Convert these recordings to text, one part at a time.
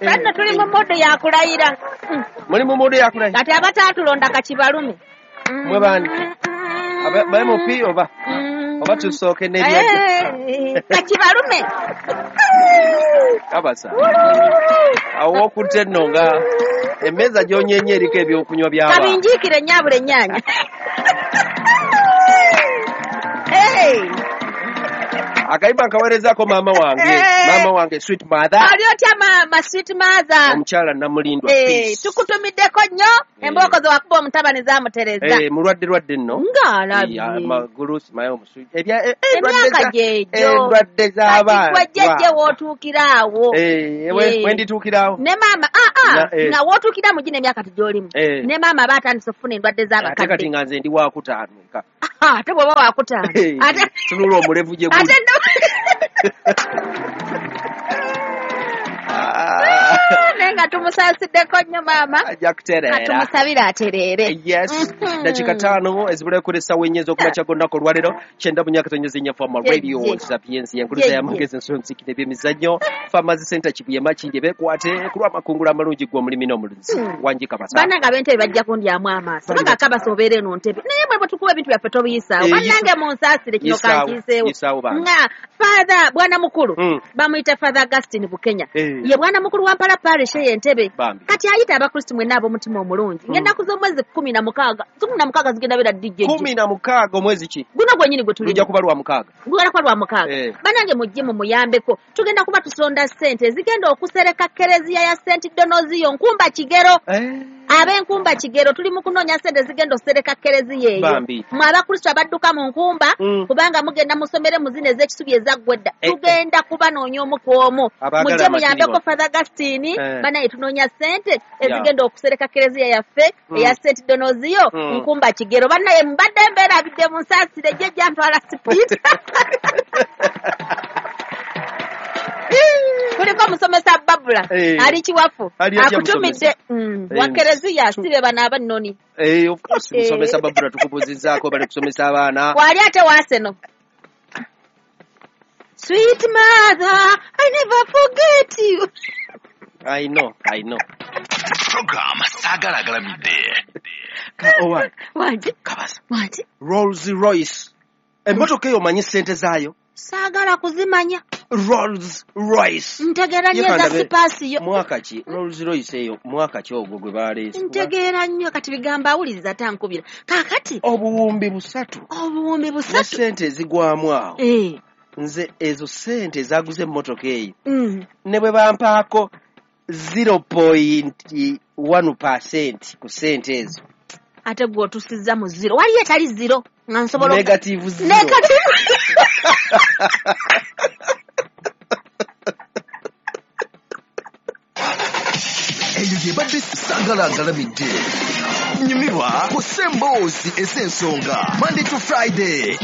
Fenno tuli mu modo yakulayira. Muli mu modo yakulayira. Kati abataatulonda kakibalume. Mwe bani? Aba MP oba? Oba tusooke n'ebyajja. Kakibalume. Kabasa. Awo okutte nno nga emmeeza gy'onyenye eriko ebyokunywa by'abaana. Kabinjiikire nnyaabula ennyaanya. Akayimba nkaweerezaako maama wange. Maama wange sweet mother. Ali otya maama sweet mother? Omukyala Namulindwa Peace. Tukutumiddeko nnyo embooko ze wakuba omutabani zaamutereza. Mulwadde lwadde nno. Ng'alabye. Amagulu simanyi omusujja. Emyaka gyegyo. Endwadde z'abaana. Kati gwe jjajja w'otuukira awo. Wendituukira awo. Ne maama nga w'otuukira mu gino emyaka gy'olimu. Ne maama aba atandise okufuna endwadde z'abakadde. Ate kati nga nze ndi waakutaano eka. Ate bw'oba waakutaano. Tunula omulevu gye guli. Naye nga tumusasiddeko nnyo maama. Ajja kutereera. Tumusabire atereere. Yes. Dakika 5 ezibulayo kuri essaawa 4 ez'okumakya g'olunaku olwaleero 94.4 Fama Radio Sapiensia enkuluza y'amagezi ensonzi n'ebyemizannyo Farmers Center Kibuye Makindye beekwate ku lw'amakungula amalungi g'omulimi n'omulunzi. Wangi Kabasa. Bannange ab'entebe bajja kundyamu amaaso. Kubanga Kabasa obeera eno ntebe. Naye mwe bwe tukuba ebintu byaffe tobiyisaawo. Bannange munsaasire kino kankiiseewo. Nga Father Bwana Mukulu bamuyita Father Augustine Bukenya. Ye Bwana Mukulu wa Mpala Parish ey'Entebe. Kati ayita Abakristu mwenna ab'omutima omulungi. Ngenda kuza omwezi 16. 16 zigenda beera DJ. 16 omwezi ki? Guno gwennyini gwe tulimu. Lujja kuba lwa mukaaga. Gugenda kuba lwa mukaaga. Bannange mujje mumuyambeko. Tugenda kuba tusonda ssente zigenda okusereka kereziya ya St. Donozio Nkumba Kigero. Ab'Enkumba Kigero tuli mu kunoonya ssente zigenda okusereka kereziya eyo. Mwe Abakristu abadduka mu Nkumba kubanga mugenda musomere mu zino ez'ekisubi ezaggwa edda. Tugenda kubanoonya omu ku omu. Mujje muyambeko Father Augustine. Bannange tunoonya ssente ezigenda okusereka kereziya yaffe eya St. Donozio Nkumba Kigero. Bannange mbadde mbeerabidde munsaasire jjajja ntwala sipiita. Kuliko musomesa Babula ali kiwafu akutumidde wa kereziya sibe bano abannoni. Of course musomesa Babula tukubuuzizzaako bali kusomesa abaana. Wali ate waaseno. Sweet mother, I never forget you. I know. Program Saagala Agalamidde. Wangi. Kabasa. Wangi. Rolls Royce. Emmotoka eyo omanyi ssente zaayo? Saagala kuzimanya. Rolls Royce. Ntegeera nnyo eza sipaasiyo. Mwaka ki? Rolls Royce eyo mwaka ki ogwo gwe baleese? Ntegeera nnyo kati bigamba awuliriza tankubira. Kaakati. Obuwumbi busatu. Obuwumbi busatu. Ne ssente ezigwamu awo. Nze ezo ssente ezaguze emmotoka eyo. Ne bwe bampaako 0.1% ku ssente ezo. Ate gwe otusizza mu zero. Waliyo etali zero. Nga nsobola negative zero. Negative. Eyo yebadde Saagala Agalamidde. Nyumirwa ku ssemboozi ez'ensonga Monday to Friday.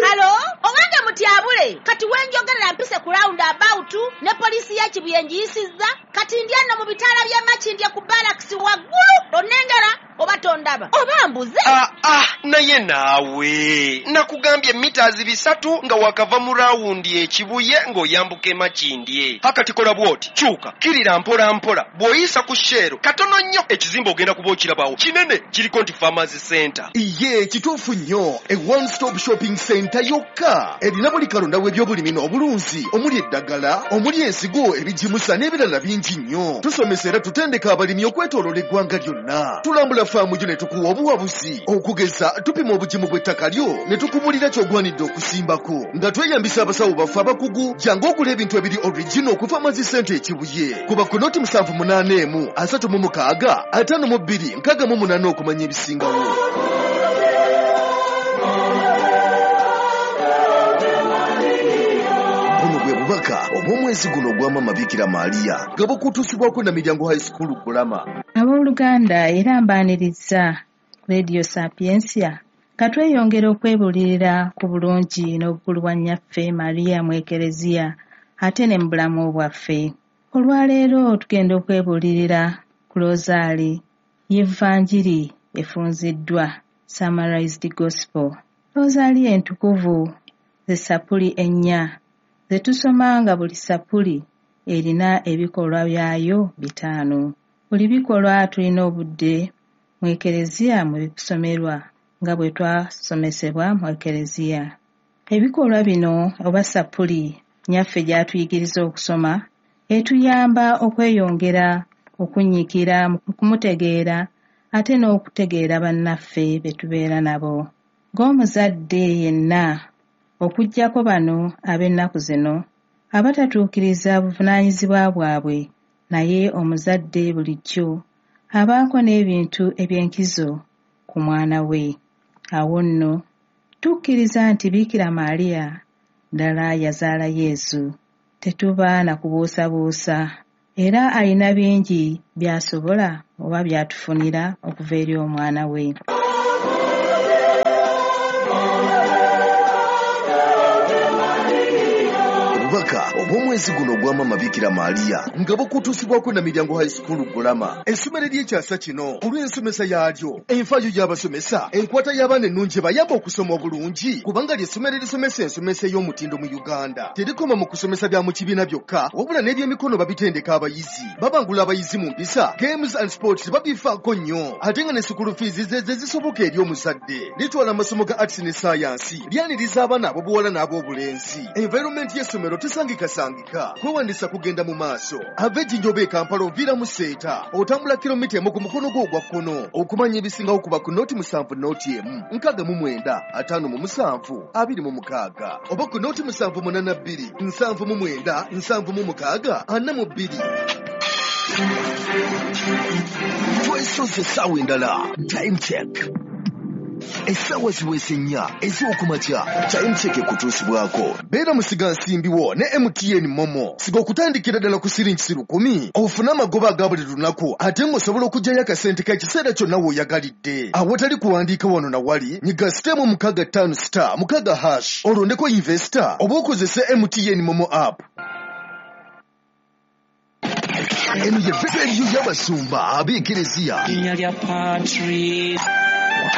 Hello? Owange mutyabule. Kati wenjogerera mpise ku round about ne poliisi ya Kibuye ngiyisizza. Kati ndi ano mu bitaala bya Makindye ku barracks waggulu. Onnengera oba tondaba oba mbuze. Naye naawe nakugambye mita 300 nga wakava mu rawundi ekibuye ng'oyambuka Makindye. Akati kola bw'oti kyuka kirira mpola mpola bw'oyisa ku Shell katono nnyo ekizimbe ogenda kuba okirabawo kinene kiriko nti Farmers Center. Iye kituufu nnyo e one stop shopping center yokka erina buli kalonda w'ebyobulimi n'obulunzi omuli eddagala omuli ensigo ebigimusa n'ebirala bingi nnyo. Tusomesa era tutendeka abalimi okwetooloola eggwanga lyonna. Tulambula faamu gyo ne tukuwa obuwabuzi okugeza tupima obugimu bw'ettaka lyo ne tukubulira ky'ogwanidde okusimbako nga tweyambisa abasawo baffe abakugu. Jangu ogula ebintu ebiri original ku Farmers Center Ekibuye. Kuba ku noti 781 36 52 68 okumanya ebisingawo. Bubaka obw'omwezi guno ogwa Maama Bikira Maria nga bukutuusibwako na Miryango High School Bulama. Abooluganda era mbaaniriza Radio Sapiensia nga tweyongera okwebuulirira ku bulungi n'obukulu bwa nnyaffe Maria mu Ekereziya ate ne mu bulamu bwaffe. Olwaleero tugenda okwebuulirira ku Rosaali y'Evanjiri efunziddwa, Summarized Gospel. Rosaali entukuvu Ze ssapuli 4 ze tusoma nga buli ssapuli erina ebikolwa byayo 5. Buli bikolwa tulina obudde mu Ekereziya mwe bisomerwa nga bwe twasomesebwa mu Ekereziya. Ebikolwa bino oba ssapuli Nnyaffe gy'atuyigiriza okusoma etuyamba okweyongera okunyiikira mu kumutegeera ate n'okutegeera bannaffe be tubeera nabo. Ng'omuzadde yenna, okuggyako bano ab'ennaku zino abatatuukiriza buvunaanyizibwa bwabwe, naye omuzadde bulijjo abaako n'ebintu eby'enkizo ku mwana we. Awo nno tukkiriza nti Biikira Maria ddala yazaala Yezu. Tetuba na kubuusabuusa era alina bingi by'asobola oba by'atufunira okuva eri omwana we. Obubaka obw'omwezi guno ogwa Maama Biikira Maria nga bukutuusibwako Namilyango High School Ggulama, essomero ery'ekyasa kino olw'ensomesa yaalyo, enfaayo y'abasomesa, enkwata y'abaana ennungi ebayamba okusoma obulungi, kubanga ly'essomero erisomesa ensomesa ey'omutindo mu Uganda. Terikoma mu kusomesa bya mu kibiina byokka, wabula n'ebyemikono babitendeka abayizi. Babangula abayizi mu mpisa, games and sports babifaako nnyo, ate nga ne school fees ze zisoboka eri omuzadde. Litwala amasomo ga arts ne science, lyaniriza abaana ab'obuwala n'ab'obulenzi. Environment y'essomero tesangikasangika. Kwewandiisa kugenda mu maaso. Ava Ejjinja oba e Kampala oviira mu Seeta, otambula kilomita 1 ku mukono gwo ogwa kkono. Okumanya ebisingawo kuba ku 07 01 69 57 26 oba ku 0782 79 76 42. Twesoze essaawa endala. Time check. Essaawa ziweese 4 ez'okumakya. Time check ekutuusibwako. Beera musigansimbi wo ne MTN Momo. Siga okutandikira ddala ku siringi 10,000 ofune amagoba aga buli lunaku, ate ng'osobola okuggyayo akasente k'ekiseera kyonna w'oyagalidde. Awatali kuwandiika wano na wali, nyiga *656*6# olondeko investor oba okozese MTN Momo app. Eno ye rediyo y'abasumba ab'Ekereziya. Linnya lya Patri.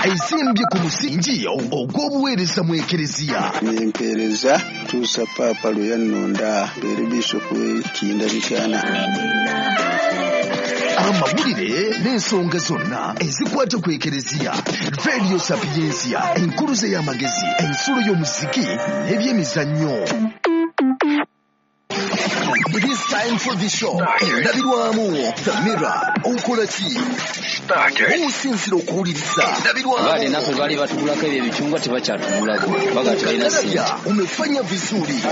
Ezimbye ku musingi ogw'obuweereza mu Ekereziya. Nempeereza tuusa Paapa lwe yannonda mbeere Bishopu w'e Kiyinda Mityana. Amawulire n'ensonga zonna ezikwata ku Ekereziya. Radio Sapiensia, enkuluze y'amagezi, ensulo y'omuziki n'ebyemizannyo. It is time for the show. Endabirwamu, The Mirror, okola ki? Osinzira okuwuliriza. Baali naffe baali batugulako ebyo ebicungwa tebakyatugulako. Baga tebalina ssente. Umefanya vizuri.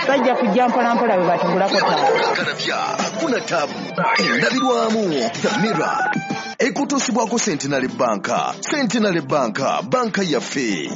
Bajja kujja mpola mpola bwe batugulako tabu. Kalabya, hakuna tabu. Endabirwamu, The Mirror. Ekutuusibwako Centenary Bank. Centenary Bank, banka yaffe.